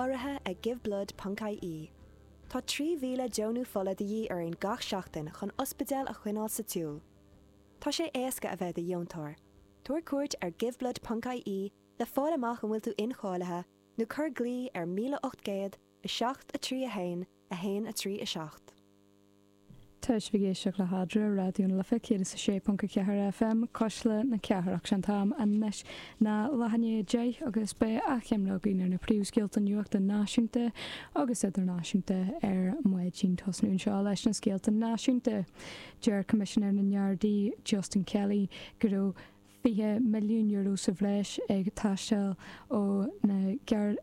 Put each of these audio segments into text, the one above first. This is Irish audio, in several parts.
Urraithe ag Giveblood ponc ie. Tá 3,000 deonú fola de dhíth orainn gach seachtain chun ospidéil a choinneáil sa tsiúl. Tá sé éasca a bheith i do dheontóir. Tabhair cuairt ar Giveblood ponc ie le fáil amach an bhfuil tú incháilithe nó cuir glao ar 1800 7 3 1 1 3 7. Tá sibh ag éisteacht le hAdhmhaidin ar Raidió na Life 106.4 FM, Cuisle na Cathrach. Sé an t-am anois ná leath i ndiaidh 10 agus beidh achoimre againn ar na príomhscéalta nuachta náisiúnta agus idirnáisiúnta ar maidin. Tosnú anseo leis na scéalta náisiúnta. Deir Coimisinéir na nGardaí, Justin Kelly, go raibh €20 milliún sa bhreis ag teastáil ó na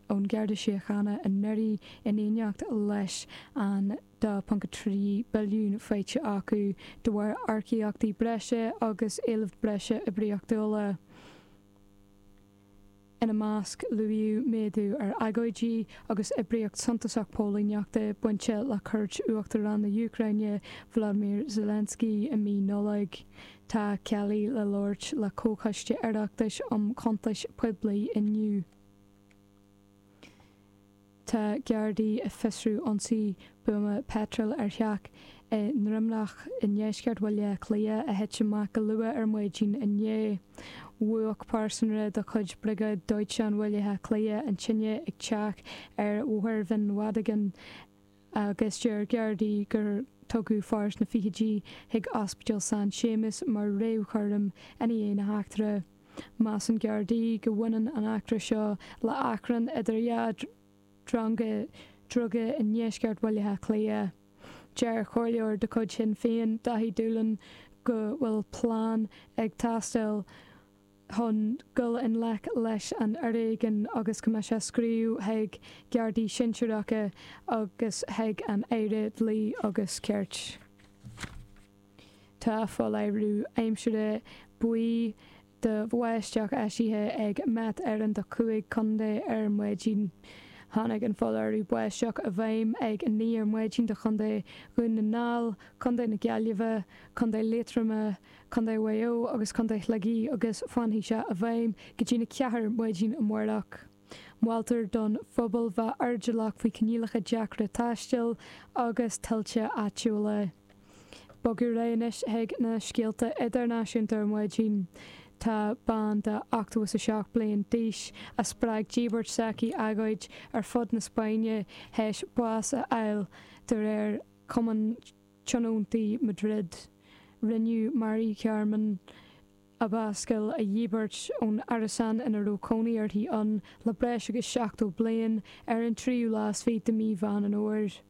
ón Gharda Síochána anuraidh in éineacht leis an 2.3 billiún faighte acu de bharr earcaíochtaí breise agus éileamh breise oibríochtúla. Ina measc, luaíodh méadú ar agóidí agus oibríocht suntasach póilíneachta bainte le cuairt Uachtarán na hÚcráine Volodymyr Zelensky i mí Nollag. Tá Kelly le labhairt le Comhchoiste Oireachtais um Chuntais Poiblí inniu. Tá Gardaí ag fiosrú ionsaí buama peitril ar theach i nDroimneach i ndeisceart Bhaile Átha Cliath a thit amach go luath ar maidin inné. Mhúch pearsanra de chuid Briogáid Dóiteáin Bhaile Átha Cliath an tine ag teach ar Bhóthar Bhinn Mhadagáin agus deir Gardaí gur tugadh fear sna fichidí chuig Ospidéal San Séamas mar réamhchúram i ndiaidh na heachtra. Measann Gardaí go mbaineann an eachtra seo le achrann idir dhá dhronga druga i ndeisceart Bhaile Átha Cliath. Deir comhairleoir de chuid Shinn Féin, Daithí Doolan, go bhfuil plean ag teastáil chun dul i ngleic leis an fhoréigean agus go mbeidh sé ag scríobh chuig Gardaí sinsearacha agus chuig an Aire Dlí agus Cirt. Tá foláireamh aimsire buí do bháisteach eisithe ag Met Éireann do chúig chontae ar maidin. Tháinig an foláireamh báisteach i bhfeidhm ag 9 ar maidin do Chontae Dhún na nGall, Contae na Gaillimhe, Contae Liatroma, Contae Mhaigh Eo agus Contae Shligigh agus fanfaidh sé i bhfeidhm go dtí na 4 maidin amárach. Moltar don phobal bheith airdeallach faoi choinníollacha deacra taistil agus tuilte áitiúla. Bogadh ar aghaidh anois chuig na scéalta idirnáisiúnta ar maidin. Tá bean de 87 bliain d'aois a spreag díbirt s'aici agóid ar fud na Spáinne théis bás a fháil, de réir Chumann Tionóntaí Madrid. Rinneadh Mari Carmen Abascal a dhíbirt ón árasán ina raibh cónaí uirthi ann le breis agus 70 bliain ar an tríú lá is fiche de mhí Mheán an Fhómhair.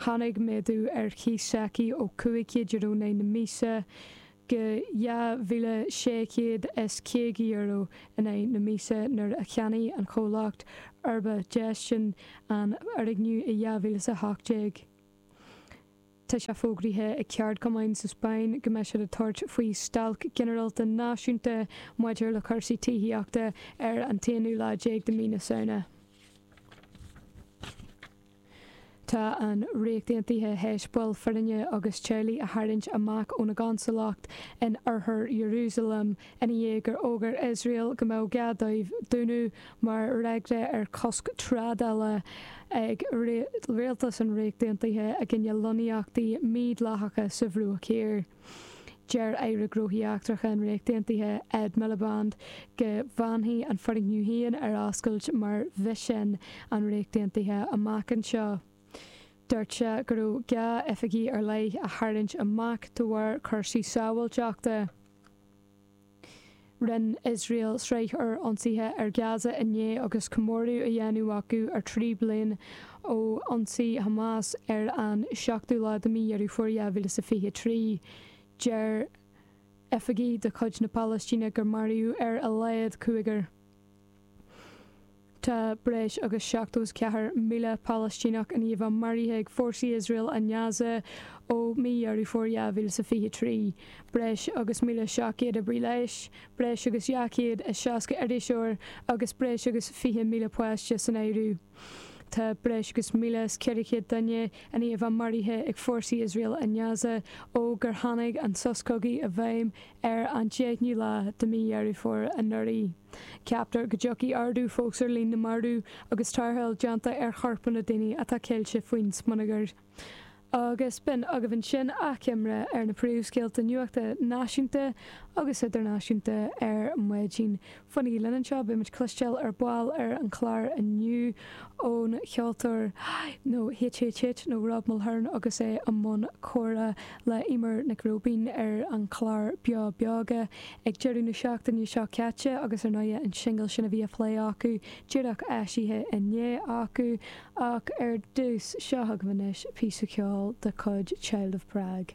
Tháinig méadú ar chíos s'aici ó €500 in aghaidh na míosa go €2,650 in aghaidh na míosa nuair a cheannaigh an comhlacht Urbacgestion an foirgneamh i 2018. Tá sé fógraithe ag ceardchumainn sa Spáinn go mbeidh siad ag tabhairt faoi stailc ghinearálta náisiúnta maidir le cúrsaí tithíochta ar an t-aonú lá déag de mhí na Samhna. Tá an Ríocht Aontaithe théis baill foirne agus teaghlaigh a tharraingt amach óna gconsalacht in oirthear Iarúsailéim ina dhiaidh gur fhógair Iosrael go mbeadh gá dóibh dúnadh mar fhreagra ar chosc trádála ag rialtas an Ríocht Aontaithe i gcoinne lonnaíochtaí mídhleathacha sa Bhruach Thiar. Deir Aire Gnóthaí Eachtracha an Ríocht Aontaithe, Ed Miliband, go bhfanfaidh an foirgneamh féin ar oscailt mar mhisean an Ríocht Aontaithe amach anseo. Dúirt sé go raibh gá oifigí ar leith a tharraingt amach de bharr cúrsaí sábháilteachta. Rinne Iosrael sraith úr ionsaithe ar Gaza inné agus comóradh á dhéanamh acu ar 3 bliain ó ionsaí Hamas ar an 7ú lá de mhí Dheireadh Fómhair 2023. Deir oifigigh de chuid na Palaistíne gur maraíodh ar a laghad cúigear. Tá breis agus 74,000 Palaistíneach i ndiaidh a bheith maraithe ag fórsaí Iosrael i nGaza ó mhí Dheireadh Fómhair 2023. Breis agus 1,700 oibrí leighis, breis agus 260 iriseoir agus breis agus 20,000 páiste san áireamh. Tá breis agus 1,400 duine i ndiaidh a bheith maraithe ag fórsaí Iosrael i nGaza ó gur tháinig an sos cogaidh i bhfeidhm ar an 10ú lá de mhí Dheireadh Fómhair anuraidh. Ceaptar go dtiocfaidh ardú fós ar líon na marbh agus tarrtháil déanta ar chorpanna daoine atá ceilte faoin smionagar. Agus b'in agaibh ansin achoimre ar na príomhscéalta nuachta náisiúnta agus idirnáisiúnta ar maidin. Fanaigí linn anseo, beidh muid cloisteáil ar ball ar an chlár inniu ón cheoltóir nó HHH nó Rob Mulhern agus é i mbun comhrá le Eimear Nic Róibín ar an chlár Beo Beoga ag deireadh na seachtaine seo caite agus ar ndóigh an singil sin a bhí á phlé acu díreach eisithe inné acu. Ach ar dtús, seo chugaibh anois píosa ceoil de chuid Child of Prague.